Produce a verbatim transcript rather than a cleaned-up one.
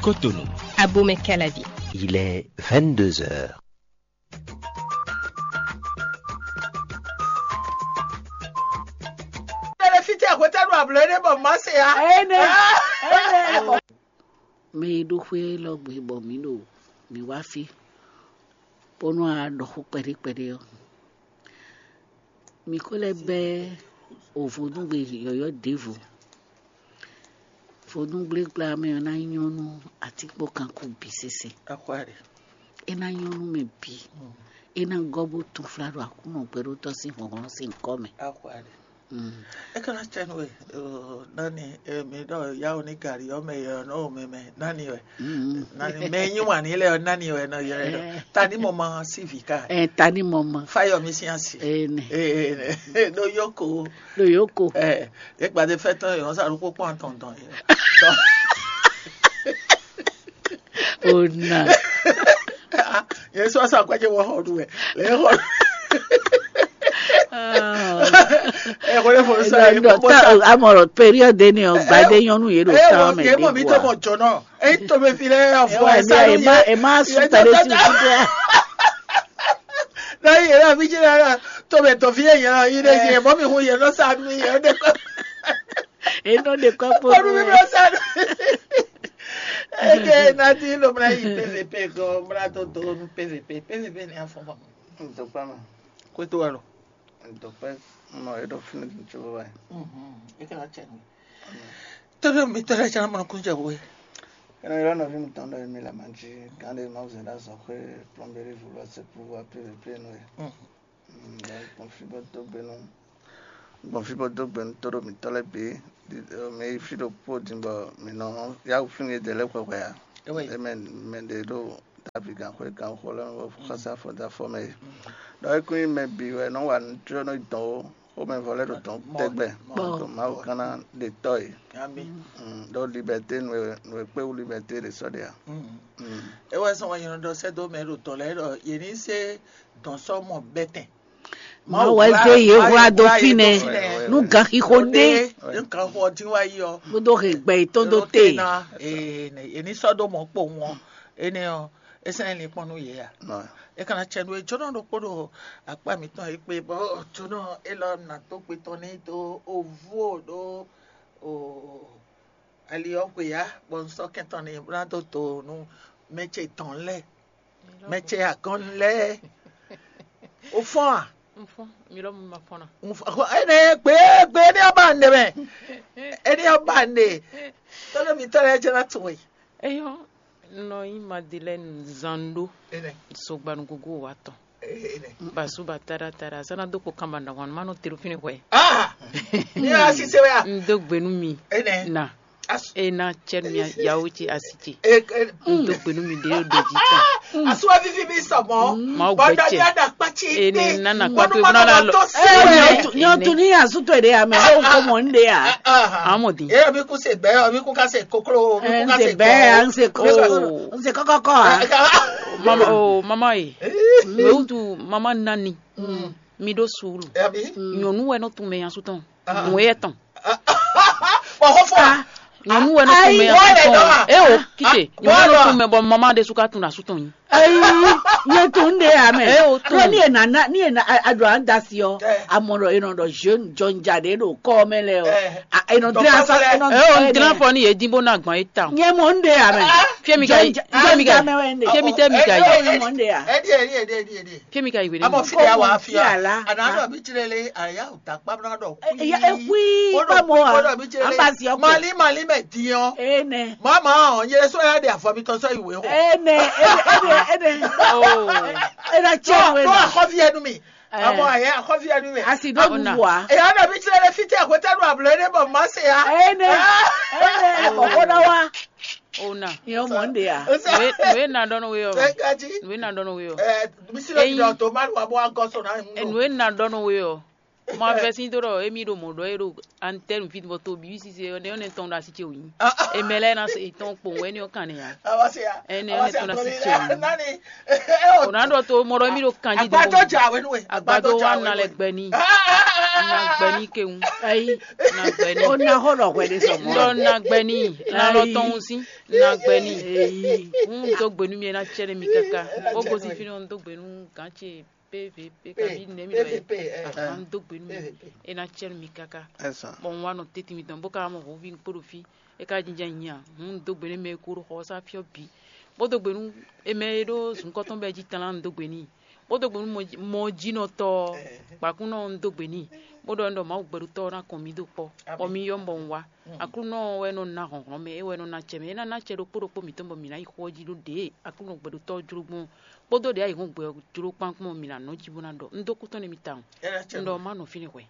Cotonou. Abomey Calavi. Il est vingt-deux heures. Tɛlɛfítɛ hwetɛ́nu ablɔ̌ énɛ́ bɔ má se ǎ. Énɛ́. Énɛ́. Mɛ e ɖó xwé élɔ́ gbe bɔ mǐ ɖo mǐ wá fí, bónú a ɖɔ xó kpɛɖé kpɛɖé ɔ́, mǐ ko lɛ́ bɛ́ o vodúngbe yɔ̌yɔ́ ɖěvo. Vodúngblégblá mɛ ɔ́ ná nyɔ́ nú atínkpɔ́kanko bǐ sésé. Akwáɖe. É ná nyɔ́ nú mɛ bǐ. É ná gɔ́ bó túnflá ɖo Aklúnɔ gbɛɖótɔ́ sín hlɔ̌nhlɔ́n sín nyǐkɔ mɛ. Akwáɖe. É ka ná cɛ nú we, nani mi ɖɔ yawo ní gari ɔ́ mɛ yɔ nɔ mɛ mɛ nani wɛ? Nani mɛ nyi wǎn ní lɛ ɔ́ nani wɛ nɔ ylɔ́ ɛ ɖɔ? Ta ní mɔ ma sí vǐ ká. Ɛ ta ní mɔ ma. Fáyɔ mi sín asi. Ene. Ee ɖo yoko. Ɖo yoko. Ɛ é gbadé fɛ tɔn yɔ sa ɖokpó kpɔn tɔn tɔn yɔ. Ona. Yẹn sọ sa kwẹjẹ wọ xɔ ɖu wɛ lẹ xɔ. Ẹ kò lè fọ sa yẹ kó bó sa. Amọ̀rọ̀ période ni ɔ gbadé nyɔnu yé ɖo tán mɛ. Yé mọ̀ mi tó mọ̀ jọ náà. Èyí tó mi fi lẹ́ ẹ fọ ẹ sáré yẹ. Ẹ má sùn tẹ̀lé sí ìdúrà. Lẹ́yìn yẹn náà fi jẹ́ náà tó bẹ̀ tó fi yẹn yẹn náà yín lé yẹn mọ́ mi hun yẹn lọ́sàánú yẹn ó dé kọ́. Eno ɖe kɔ kpo. Kpɔɖu mi blɔ sa ɖo. Eke nati lo mla yi P V P gɔ mla to do nu P V P P V P ni afɔ ma. Ntɔkpa ma. Kweto wa lo. Ntɔkpa ma e ɖɔ fini tso wa. Mhm. Eke na cɛ nu. Todo mi todo cɛ na mɔ kun cɛ wo. Ena yɔrɔ nɔvi mi tɔn ɖɔ mi la manji kan de ma zɛ da sɔ xwe plɔmberi vulu ase pu wa P V P nu. Mhm. Gbɔn fí bó dó gbe nú gbɔn fí bó dó gbe nú tóɖó mǐtɔn lɛ́ɛ bǐ. Mǐ yi fí ɖokpó din bɔ mǐ nɔ yá wǔ fínú yědɛɛ lɛ́ɛ hwɛhwɛ ǎ. Mɛ mɛ ɖě ɖo Davi gǎnxwé gǎnxó lɛ́ɛ mɛ bɔ xɔsá fɔ dó afɔ mɛ é. Ɖɔ é kún nyí mɛ bǐ wɛ nɔ wa nǔ jló nɔ dɔn ó, xomɛvɔ lɛ́ɛ ɖo dɔn tɛgbɛ. Ɖo Mawu kán ná ɖe tɔ́ yě. Ɖó libɛté nǔ e kpé wú libɛté ɖě sɔ́ ɖe ǎ. É wɛ sɔn wɛ nyɛ nɔ ɖɔ sɛ́ dó mɛ ɖo dɔ̌n lɛ́ɛ ɖɔ yě ní zé dɔ̌n sɔ́ mɔ bɛ́tɛn. Mawu wɛ zé yě hwlá dó fínɛ́ nú ganxixo ɖé. Nú ganxixo ɔ́ dín wá yi ɔ́. Bó dó he gbɛ yětɔn dó te. Yě ní sɔ́ dó mɔ̌ kpowun ɔ́, énɛ́ ɔ́, é sɛ́n nyí linkpɔ́n nú yě a? É ka ná cɛ nú é jónɔ ɖokpó ɖo akpá mǐtɔn e kpé bɔ jónɔ élɔ́ ná dó gbe tɔn n'i dó ovú o ɖó ali ɔ́ xwe ya, bɔ un sɔ́ kɛntɔn n'i bó ná dó do nú mɛ ce tɔn lɛ́ɛ. Mɛ ce agɔn lɛ́ɛ. O fɔ́n a? N fɔ́n, mi lɔ mi ma fɔ́n na. N fɔ́n, ene gbe gbe ne ɔ́ ba ne mɛ. Ene ɔ́ ba ne. Tɔlɔ mi tɔlɔ ɛ jɛ na to wɛ. Eyɔ, nɔ yi Madeleine zan ɖo. Ene. Sogbanugogo wa tɔn. Ene. Basu ba tada tada, sana do ko kamba na wan ma no tero fini hwɛ. Ah! Ni a si se wɛ a? N do gbenu mi. Ene. Na. E na cɛ nu yawo ce asi ce. N do gbenu mi ɖe ɖo jí tɔn. Asuwa vivi mi sɔmɔ. Mawu gbɛ cɛ. Ene nana kpa to bana la lɔ. Nyɔ tu ni asu to ɖe ya mɛ o ko mɔ n ɖe ya. Amɔ di. E mi ku se bɛ, mi ku ka se koklo, mi ku ka se bɛ, an se koklo, an se kɔkɔkɔ a. Mama o mama ye. Wewutu mama nani. Mi ɖó suúlu. Nyɔ̌nu wɛ nɔ tunmɛ nyasu tɔn. Nǔ éyɛ́ tɔn. Bɔ xó fɔ. Nyɔ̌nu wɛ nɔ tunmɛ nyasu tɔn. E o kite. Nyɔ̌nu wɛ nɔ tunmɛ bɔ mama ɖé su ka tun asu tɔn nyi. Ayi, nyɛ tun ɖe ya mɛ. E o tun. Ni e na na ni e na aɖo an da si ɔ. Amɔ ɖɔ e nɔ ɖɔ jeune jɔnja ɖe ɖo kɔ mɛ lɛ ɔ. E nɔ dre asa e nɔ. E o n dre afɔ ni yé dín bó ná gbɔn é ta. Nyɛ mɔ n ɖe ya mɛ. Fiemi ka yi. Fiemi ka yi. Fiemi tɛ mi ka yi. Nyɛ mɔ n ɖe ya. Ɛdi ɛdi ɛdi ɛdi ɛdi. Kemi ka yi wele. Amɔ fi ya wa fi ya. Ana dɔ bi tire le aya o ta kpa na dɔ. Ya ekui pa mo a. An ba si ɔkɔ. Mali mali mɛ diyan. Ene. Mama o yele so ya de afɔ mi tɔ sɔ iwe o. Ene ene ene ene. Oh. Ena cɛ we. Ko akɔfi enu mi. Amɔ aya akɔfi enu mi. Asi do bu wa. Eya dɔ bi tire le fite akwete nu ablo ene bɔ ma se ya. Ene ene. Kɔkɔ na wa. Ona. Yɛ mɔ n de ya. Nue nue na dɔn we yɔ. Tɛgaji. Nue na dɔn we yɔ. Ɛ misi lɔ bi dɔ to ma wa bɔ agɔ so na. Nue na dɔn we yɔ. Ma vɛ si do dɔ emi ɖo mɔ dɔ e ɖo antenne fi bɔ to bi sise ne ne tɔn da si ce o yin. Emɛ lɛ na se tɔn kpɔn wɛ ni o kan ne ya. Awa se ya. Ene ne tɔn da si ce o yin. Nani. O na dɔ to mɔ dɔ mi ɖo kan ji do. Agbadɔ ja we nu we. Agbadɔ wa na lɛ gbɛ ni. Na gbɛ ní kewun. Ayi, Na gbɛ ní. ó ná xó ɖɔ hwɛ ɖé sɔ Ŋdɔ mɔ. na gbɛ ní. Na lɔ tɔn wun sí. Na gbɛ ní. Eyi, Ń dó gbe nú mi, é ná cɛ nú mi káká. Bó gosín fínɛ́ ɔ́, ń dó gbe nú gǎn ce P V P kabi nɛ̌ mi ɖɔ é. Ahan, ń dó gbe nú mi, é ná cɛ nú mi káká. Esa. Bɔ un wá nɔ tɛ́ntin mitɔn bó ka mɔ hɔnví kpó ɖo fí, é ka jínjɔ́n nyi a? Hǔn un dó gbe nú mɛ e ko ɖo xɔ ɔ́ sá fí ɔ́ bǐ, bó dó gbe nú mɛ e ɖó zǔnkɔ́tɔn bɛ́ jí tlán un dó gbe n'i, bó dó gbe nú mɔjínɔtɔ́ ɔ́, gbǎkúnɔ un dó gbe n'i, bó ɖɔ un ɖɔ Mawu gbɛɖutɔ́ ɔ́ ná kɔn mì dó kpɔ́, bɔ mi yɔ́ bɔ un wá. Aklúnɔ ɔ́ wɛ nɔ ná hlɔ̌nhlɔ́n mɛ, é wɛ nɔ ná acɛ mɛ, é ná ná acɛ ɖokpó ɖokpó mǐtɔn bɔ mǐ ná yi xó ɔ́ jí ɖó ɖě e Aklúnɔ gbɛɖutɔ́ ɔ́ jló gbɔn ɔ́, kpódó ɖě ayǐhɔ́ngbe ɔ́ jló kpán gbɔn ɔ́, mǐ ná nɔ jí bó ná ɖɔ. Un dó kú tɔn nú mi tawun. Un ɖɔ má nɔ fínɛ́ hwɛ.